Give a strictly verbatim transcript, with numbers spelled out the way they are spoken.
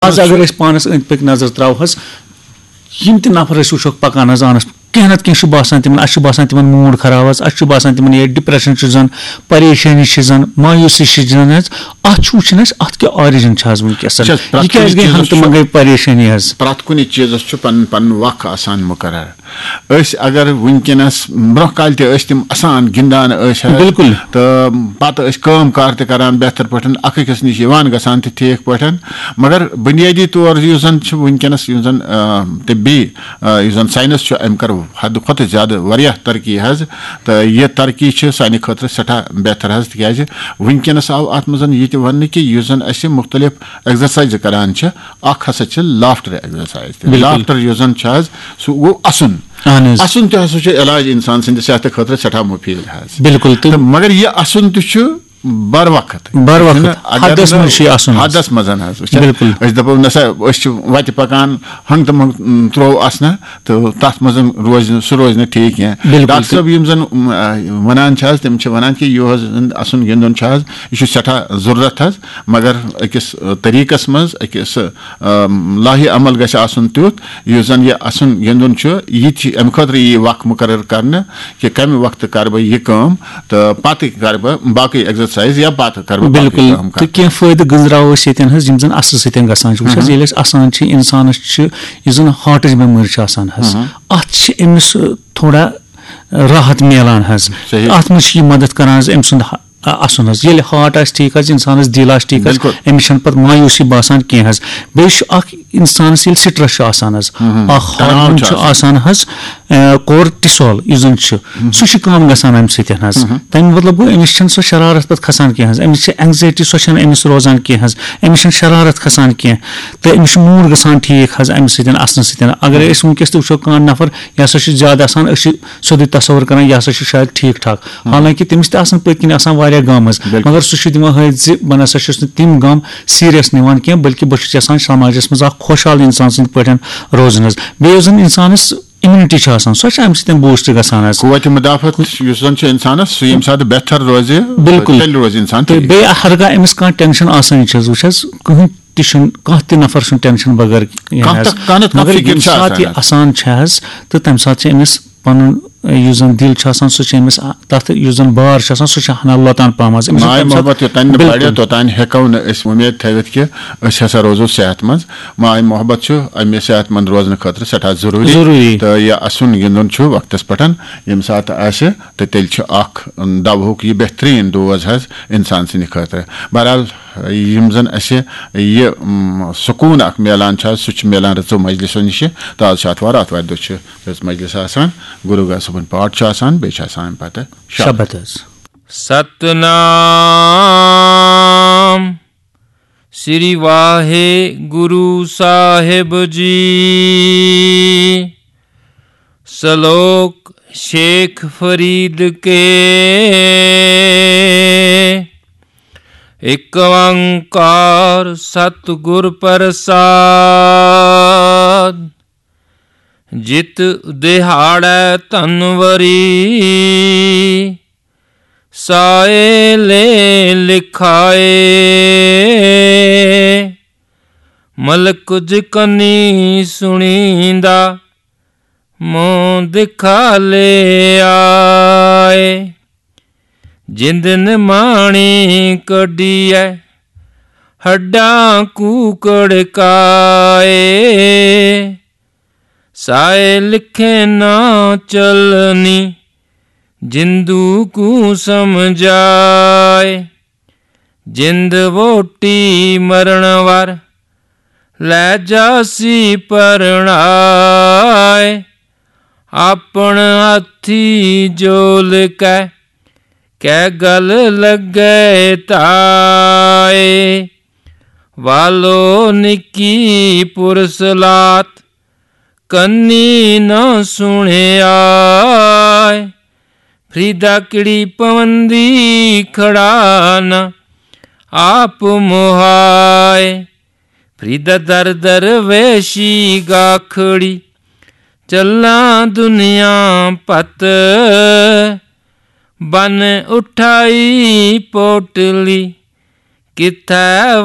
آز اگر أسۍ پانس أنٛدۍ پٔکۍ نظر تراوہوس، یِم تہِ نفر أسۍ وٕچھوکھ پکان حظ آنس، کینٛہہ نتہٕ کینٛہہ چھُ باسان تِمن، اسہِ چھُ باسان تِمن موٗڈ خراب حظ، اسہِ چھُ باسان تِمن یہِ ڈپریشن چھُ زن، پریشٲنی چھِ زن، مایوسی چھِ زن حظ۔ اتھ چھُ وٕچھُن اسہِ اتھ کیٛاہ آرجن چھُ حظ وٕنکیٚس، وٕچھ حظ، پرٛٮ۪تھ یہِ کُنہِ کیٛازِ گٔے چیٖزس ہنگتہٕ چھُ، منگے پریشٲنی حظ؟ پرٛٮ۪تھ کُنہِ چیٖزس چھُ پنُن پنُن وق آسان مُقرر۔ أسۍ اگر وٕنکیٚنس، برونٛہہ کالہِ تہِ ٲسۍ تِم اسان گِنٛدان ٲسۍ حظ، بِلکُل۔ تہٕ پتہٕ ٲسۍ کٲم کار تہِ کران بہتر پٲٹھۍ، اکھ أکِس نِش یِوان گژھان تہِ ٹھیٖک پٲٹھۍ۔ مگر بُنیٲدی طور یُس زن چھُ وٕنکیٚنس، یُس زن آ، طبی آ، یُس زن ساینس چھُ، أمۍ کٔر حد کھۄتہٕ زیادٕ واریاہ ترقی حظ۔ تہٕ یہِ ترقی چھِ سانہِ خٲطرٕ سٮ۪ٹھاہ بہتر حظ، تِکیازِ وٕنکیٚنس آو اتھ منٛز یہِ تہِ وننہٕ کہِ یُس زن اسہِ مُختلف ایگزرسایزٕ کران چھِ، اکھ ہسا چھِ لافٹر ایگزرسایز تہِ۔ بِلکُل۔ لافٹر یُس زن چھُ حظ، سُہ گوٚو اسُن۔ اہن حظ۔ اسُن تہِ ہسا چھُ علاج انسان سٕنٛدِ صحتہٕ خٲطرٕ سٮ۪ٹھاہ مُفیٖد حظ۔ بِلکُل۔ تہٕ تہٕ مگر یہِ اسُن تہِ چھُ بر وقت۔ بر وقت۔ چھُنہٕ اگر حدس نہٕ منٛز چھُ یہِ اسُن حظ۔ حدس منٛز حظ، وٕچھ حظ۔ بِلکُل۔ أسۍ دپو نسا أسۍ چھِ وتہِ پکان، ہنٛگ تہٕ منٛگ، م، ترٛوو اسنہٕ، تہٕ تتھ منٛز روزِ نہٕ، سُہ روزِ نہٕ ٹھیٖک کینٛہہ۔ بِلکُل۔ ڈاکٹر صٲب یِم زن، م، آ، ونان چھِ حظ، تِم چھِ ونان کہِ یُہُس زن اسُن گِنٛدُن چھُ حظ، یہِ چھُ سٮ۪ٹھاہ ضروٗرت حظ، مگر أکِس، آ، طریٖقس منٛز، أکِس، آ، لاہہِ عمل گژھِ آسُن تیُتھ، یُس زن یہِ اسُن گِنٛدُن چھُ، یہِ تہِ چھِ امہِ خٲطرٕ یی وق مُقرر کرنہٕ کہِ کمہِ وقتہٕ کرٕ بہٕ یہِ کٲم تہٕ پتہٕ کرٕ بہٕ باقٕے ایگزرسایز یا پتہٕ کرٕ بہٕ باقٕے بِلکُل۔ کٲم۔ تہٕ کینٛہہ فٲیدٕ گٔنٛزراوو أسۍ ییٚتٮ۪ن حظ، یِم زن اسنہٕ سۭتۍ گژھان چھِ۔ وٕچھ حظ، مہم۔ ییٚلہِ أسۍ اسان چھِ، انسانس چھِ یُس زن ہارٹٕچ بٮ۪مٲرۍ چھِ آسان حظ، مہم۔ اتھ چھِ أمِس، آ، تھوڑا، آ، راحت میلان حظ۔ صحیح۔ اتھ منٛز چھِ یہِ مدد کران حظ أمۍ سُنٛد ہ-، آ، اسُن حظ۔ ییٚلہِ ہارٹ آسہِ ٹھیٖک حظ، انسانس دِل آسہِ ٹھیٖک حظ، بِلکُل۔ أمِس چھنہٕ پتہٕ مایوسی باسان کینٛہہ حظ۔ بیٚیہِ چھُ اکھ انسانس ییٚلہِ سٹریس چھُ آسان حظ، مہم۔ اکھ تناو ہارمون چھُ چھُ آسان۔ آسان حظ، آ، کورٹیسول یُس زن چھُ، مہم۔ سُہ چھُ کم گژھان امہِ سۭتۍ حظ۔ مہم۔ تمیُک مطلب گوٚو، أمِس چھنہٕ سۄ شرارت پتہٕ کھسان کینٛہہ حظ، أمِس چھِ اینگزایٹی، سۄ چھنہٕ أمِس روزان کینٛہہ حظ، أمِس چھنہٕ شرارت کھسان کینٛہہ، تہٕ أمِس چھُ موٗڈ گژھان ٹھیٖک حظ امہِ سۭتۍ، اسنہٕ سۭتۍ۔ اگر أسۍ وٕنکیٚس تہِ وٕچھو، کانٛہہ نفر، یہِ ہسا چھُ زیادٕ اسان، أسۍ چھِ سیوٚدُے تصور کران، یہِ ہسا چھُ شاید ٹھیٖک ٹھاک، حالانکہ تٔمِس تہِ آسان پٔتۍ کِنۍ آسان واریاہ غم حظ، بِلکُل۔ مگر سُہ چھُ دِوان ہٲوِتھ زِ بہٕ نسا چھُس نہٕ تِم غم سیریس نِوان کینٛہہ، بلکہِ بہٕ چھُس یژھان سماجس منٛز اکھ خۄشحال انسان سٕنٛدۍ پٲٹھۍ روزُن حظ۔ بیٚیہِ یُس زن انسانس امیونٹی چھِ آسان، سۄ چھِ امہِ سۭتۍ بوٗسٹ گژھان حظ۔ قوت مدافعت یُس زن چھُ انسانس، سُہ ییٚمہِ ساتہٕ بہتر روزِ، بِلکُل۔ تیٚلہِ روزِ انسان تہٕ ٹھیٖک۔ بیٚیہِ ہرگاہ أمِس کانٛہہ ٹینشن آسان چھِ حظ، وٕچھ حظ، کٕہٕنۍ تہِ چھُنہٕ، کانٛہہ تہِ نفر چھُنہٕ ٹینشن بغٲر کینٛہہ کانٛہہ حظ۔ تہ-، کانٛہہ نتہٕ کانٛہہ مگر فکر ییٚمہِ چھِ ساتہٕ آسان یہِ حظ۔ اسان چھِ حظ، تہٕ تمہِ ساتہٕ چھِ أمِس پنُن، یُس زن دِل چھُ آسان، سُہ چھُ أمِس تتھ، یُس زن بار چھُ آسان، سُہ چھُ ہنا لۄتان پہم حظ۔ أمِس چھُنہٕ ماے تمہِ ساتہٕ محبت یوٚتانۍ نہٕ بِلکُل۔ بڑِ، توٚتانۍ ہٮ۪کو نہٕ أسۍ وۄمید تھٲوِتھ کہِ أسۍ ہسا روزو صحت منٛد۔ ماے محبت چھُ اَمہِ صحت منٛد روزنہٕ خٲطرٕ سٮ۪ٹھاہ ضروٗری۔ ضروٗری۔ تہٕ یہِ اَسُن گِنٛدُن چھُ وقتس پٮ۪ٹھ، ییٚمہِ ساتہٕ آسہِ، تہٕ تیٚلہِ چھُ اکھ، ام، دوہُک یہِ بہتریٖن ڈوز حظ اِنسان سٕنٛدِ خٲطرٕ۔ بہرحال، یِم زن اَسہِ یہِ، ام، سکوٗن اکھ میلان چھُ حظ، سُہ چھُ میلان رٕژو مجلسو نِشہِ۔ تہٕ آز چھُ آتھوار، آتھوارِ دۄہ چھُ رٕژ مجلس آسان، گُرو گاہ صٲبُن پاٹھ چھُ آسان، بیٚیہِ چھُ آسان اَمہِ پتہٕ شب۔ شبد حظ۔ ستنام سری واہے گرو صاحب جی، سلوک شیخ فرید کے، ایک اوانکار ستگر پرساد، جت دہاڑے تنوری، سائے لے لکھائے، ملک جکنی سنیندا، مون دکھا لے آئے۔ جند نمانی کڈی ہے، ہڈاں کو کڑکائے۔ سائے لکھے نہ چلنی، جندو کو سمجھائے۔ جند ووٹی مرن وار، لے جاسی پرنائے۔ اپن ہتھی جول کے، کے گل لگے تائے۔ والو نکی پرسلات، کنی نہ سنیا۔ فریدا کڑی پوندی کھڑا نہ آپ موہائے۔ فریدا در در ویشی گاکھڑی، چلاں دنیا پت۔ بن اٹھائی پوٹلی، کتھے